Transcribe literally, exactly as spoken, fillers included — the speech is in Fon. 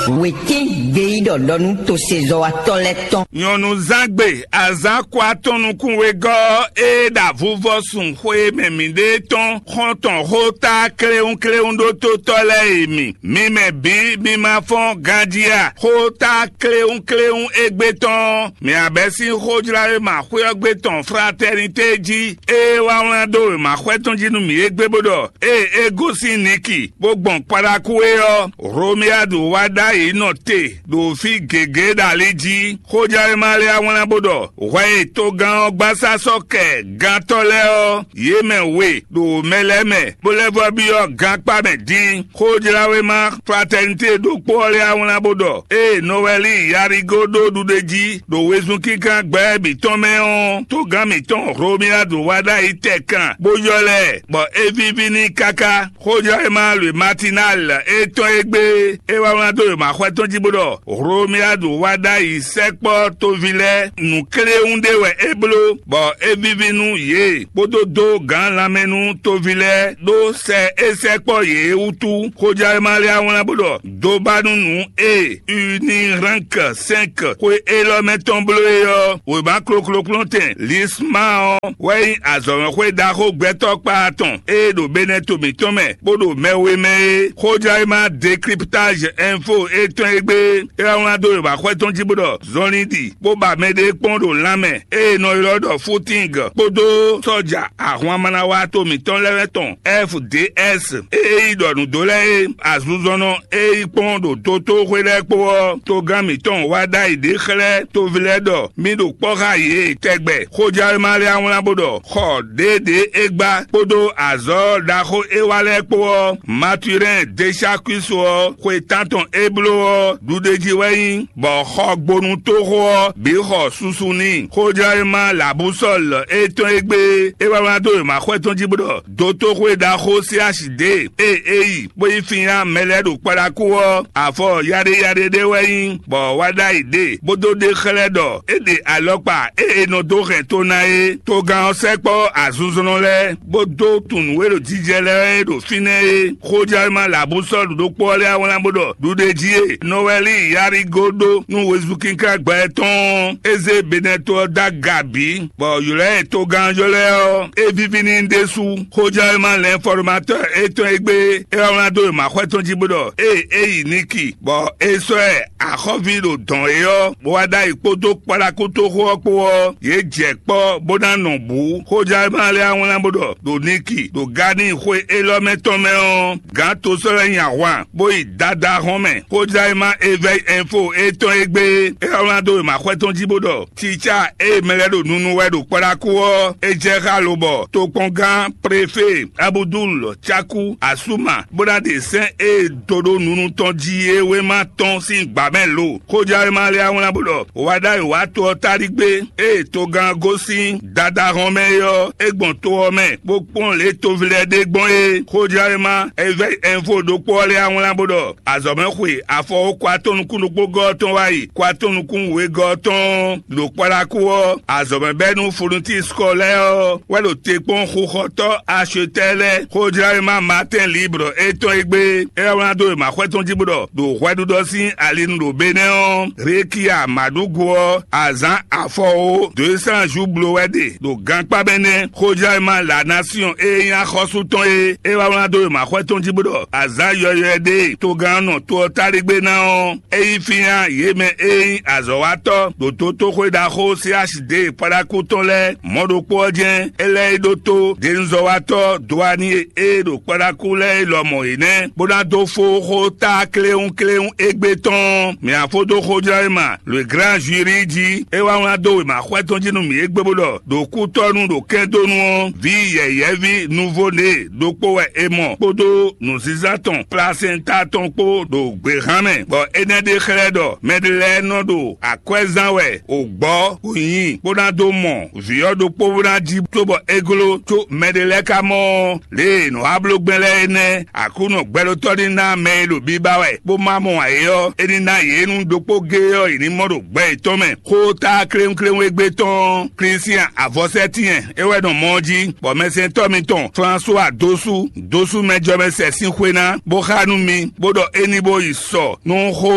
Wětín gbeyíɖɔ ɖɔ nú tosezɔ́watɔ́ lɛ́ɛ tɔn. Nyɔ̌nuzángbe azǎn kɔ atɔn nukún wegɔ́ e ɖo avuvɔ́sun xwe e mɛ mǐɖée tɔn xɔ́ntɔn xóta kléwúnkléwún ɖó tótɔ́ lɛ́ɛ e mi. Mi mɛ bǐ mi ma fɔ́n ganjí a? Xóta kléwúnkléwún égbé tɔn, mǐ abɛ́ sín xójlá e ma xwé ɔ́ gbé tɔn fratɛ́nitée jí, ée wá wlán dó wěmaxwɛ tɔn jí nú mǐ égbé bó ɖɔ: Ée é gosín Niki, bó gbɔn Kpaɖaku é ɔ́, Hlomiyadu wá ɖ'ayǐ nɔ te ɖo fí gěgé ɖo ali jí. Xójlá e ma lɛ́ wá wlán bó ɖɔ: Hwɛ e togán ɔ́ gbasá sɔ́ kɛ gantɔ́ lɛ́ɛ ɔ́, yě mɛ we ɖo mɛ lɛ́ɛ mɛ, bó lɛ́ vɔ́ byɔ́ gankpá mɛ dín. Xójláwéma fratɛnitée ɖokpó ɔ́ lɛ́ wá wlán bó ɖɔ: Ée Nɔwɛli Yarigo ɖó ɖuɖéjí ɖo wezun kínkán gbɛ́ bǐ tɔn mɛ ɔ́, togán mǐtɔn Hlomiyadu wá ɖ'ayǐ tɛkan, bó ylɔ́ lɛ, bɔ é víví n'i káká. Xójlá e ma lwe Matinal étɔn e gbé é wá wlán dó wěmaxwɛ tɔn jí bó ɖɔ: Hlomiyadu wá ɖ'ayǐ sɛkpɔ́ toví lɛ́ɛ nǔkléwún ɖé wɛ é bló, bɔ é víví nú yě, bó dó dó gǎn lanmɛ nú toví lɛ́ɛ ɖó sɛ é sɛkpɔ́ yě é wútu. Xójlá e ma lɛ́ wá wlán bó ɖɔ: Dobanu nǔ e Uniránk sɛ́nk xwe élɔ́ mɛ tɔn bló é ɔ́, wěma klokloklɔ́ntɛn Lisma ɔ́ wɛ nyí azɔ̌mɛxwé ɖaxó gbɛtɔ́ kpaa tɔn e ɖo Benɛto mǐtɔn mɛ bó ɖo mɛ we mɛ é. Xójlá e ma Décryptage Info étɔn e gbé é wá wlán dó wěmaxwɛ tɔn jí bó ɖɔ: Zɔnlin ɖi, bó ba mɛɖée kpɔ́n ɖo lanmɛ, ée è nɔ ylɔ́ ɖɔ Fútíng kpódó sɔ́ja ahwan manawato mǐtɔn lɛ́ɛ tɔn F D S e é yi ɖɔ nǔ dó lɛ́ɛ é, azinzɔnnɔ e yi kpɔ́n ɖo dotóxwé lɛ́ɛ kpó ɔ́, togán mǐtɔn wá ɖ'ayǐ ɖe xlɛ́ toví lɛ́ɛ ɖɔ mì ɖo kpɔ́ xá yě tɛgbɛ. Xójlá e ma lɛ́ wlán bó ɖɔ: Xɔ ɖěeɖě é gbá kpódó azɔ̌ ɖaxó é wa lɛ́ɛ kpó ɔ́, Maturɛ́n Desákuisu ɔ́, xwe tántɔn é bló ɔ́, ɖuɖéjí wɛ nyí, bɔ xɔgbónútoxo ɔ́ bǐ xɔ susu n'i. Xójlá e ma Labusɔ́l étɔn e gbé é wá wlán dó wěmaxwɛ tɔn jí bó ɖɔ: Dotóxwé ɖaxó Silási ɖě e é yi bó yi fínyá mɛ lɛ́ɛ ɖo Kpaɖaku ɔ́, afɔ yaɖéyaɖé ɖé wɛ nyí, bɔ wá ɖ'ayǐ ɖe, bó dó ɖe xlɛ́ ɖɔ é ɖe alɔkpa e è nɔ dó hɛn to ná é. Togán ɔ́ sɛkpɔ́ azinzɔnnɔ lɛ́ɛ, bó dó tunwun nǔ e ɖo jijɛ lɛ́ɛ e ɖo fínɛ́ é. Xójlá e ma Labusɔ́l ɖokpó ɔ́ lɛ́ wá wlán bó ɖɔ: Ɖuɖéjí e Nɔwɛli Yarigo ɖó nú wezunkankan gbɛ tɔn ɔ́, é zé Benɛto ɔ́ dó aga bǐ, bɔ ylɔ̌ e togán ylɔ́ ɛ ɔ́, é víví n'i ɖésú. Xójlá e ma Lɛnfɔrmatɔ́ɔ étɔn e gbé é wá wlán dó wěmaxwɛ tɔn jí bó ɖɔ: Ée é yi Niki, bɔ é sɔ́ ɛ axɔ́ví ɖo dɔ̌n é ɔ́, bó wá ɖ'ayǐ kpódó kpáɖákútoxo ɔ́ kpó ɔ́, yě jɛ kpɔ́ bó ná nɔ bǔ. Xójlá e ma lɛ́ wá wlán bó ɖɔ: Ɖo Niki, ɖo Gani xwe élɔ́ mɛ tɔn mɛ ɔ́, gǎn tosɔ́ lɛ́ɛ nyi ahwan, bó yi Dada hɔn mɛ. Xójlá e ma Evɛ́yi Ɛnfo étɔn e gbé é wá wlán dó wěmaxwɛ tɔn jí bó ɖɔ: Cicá e mɛ lɛ́ɛ ɖo nunu wɛ ɖo Kpaɖaku ɔ́, é jɛ xá lobɔ tokpɔngán Prefé Abudul Caku Asuma, bó ná ɖe sɛ́n e do ɖó nunu tɔn jí é wéma tɔn sín gbǎ mɛ lo. Xójlá e ma lɛ́ wá wlán bó ɖɔ: Wǎ ɖ'ayǐ wá to ɔ́ táɖí gbé, ée togán gosín Dada hɔn mɛ é ɔ́, é gbɔn to ɔ́ mɛ, bó kpɔ́n lě toví lɛ́ɛ ɖe gbɔn é. Xójlá e ma Evɛ́yi Ɛnfo ɖokpó ɔ́ lɛ́ wá wlán bó ɖɔ: Azɔ̌mɛ xwe afɔwó kɔ atɔn nukún ɖokpó gɔ́ ɔ́ tɔn wá yi kɔ atɔn nukún wegɔ́ ɔ́ tɔn ɖo Kpaɖaku ɔ́, azɔ̌mɛ bɛ́ nú Fontísikɔ lɛ́ɛ ɔ́ wɛ ɖo te kpɔ́n xuxɔtɔ́ Axotɛ́ lɛ́ɛ. Xójlá e ma Matɛ́n Libre étɔn e gbé é wá wlán dó wěmaxwɛ tɔn jí bó ɖɔ: Ɖo hwɛɖuɖɔ sín ali nu ɖo Benɛ́ ɔ́, Rekia Maɖugu ɔ́, azǎn afɔwó dǒ e sán ju blo wɛ ɖe ɖo gankpá mɛ nɛ́. Xójlá e ma La Nasiɔn e nyí axɔ́sú tɔn é, é wá wlán dó wěmaxwɛ tɔn jí bó ɖɔ: Azǎn yɔywɛ ɖé e togán nɔ to ɔ́ táɖégbé ná ɔ́, é yí fínnyá yě mɛ e nyí azɔ̌watɔ́ ɖo dotóxwé ɖaxó Silási ɖě e Paɖaku tɔn lɛ́ɛ mɔ̌ ɖokpó ɔ́ jɛ́n. É lɛ́ yi ɖótó denuzɔ́watɔ́ Doani e e ɖo Paɖaku lɛ́ɛ é lɔmɔ̌ é nɛ́, bó ná dó fó xó tá kléwúnkléwún égbé tɔn. Mǐ ná fó dó xójlɔ́ e ma Le Grand Jury jí. É wá wlán dó wěma xwɛ tɔn jí nú mǐ égbé bó ɖɔ: Ɖo kútɔ́nú ɖo kɛ́ndónú ɔ́, vǐ yɛ̌yɛ́ví Nuvo-Née ɖokpó wɛ è mɔ kpódó nǔzínzán tɔn plasɛnta tɔn kpó ɖo gběhan mɛ, bɔ énɛ́ ɖe xlɛ́ ɖɔ mɛɖé lɛ́ɛ nɔ ɖo akwɛ́ zán wɛ ògbɔ́ wǒ nyi, bó ná dó mɔ vǐ ɔ́ ɖokpó bó ná jí, cóbɔ é gló, có mɛɖé lɛ́ɛ ka mɔ ɔ́, lě e nǔ wa bló gbɛn lɛ́ɛ é nɛ́. Aklúnɔ gbɛɖótɔ́ ní ná mɛ e ɖo biba wɛ bó ma mɔ ǎ é ɔ́, é ní ná yě nú ɖokpó géé ɔ́, yě ní mɔ ɖo gbɛ yětɔn mɛ. Xó tá kléwúnkléwún égbé tɔn ɔ́, Klísian avɔsɛ́tɛ́n é wɛ nɔ mɔ ɔ́ jí, bɔ mɛsɛntɔ́ mitɔn Flasuwa dó sú, dó sú mɛjɔmɛsɛn sín xwé ná, bó xá nú mi, bó ɖɔ é ní bó yi tɔ nú xó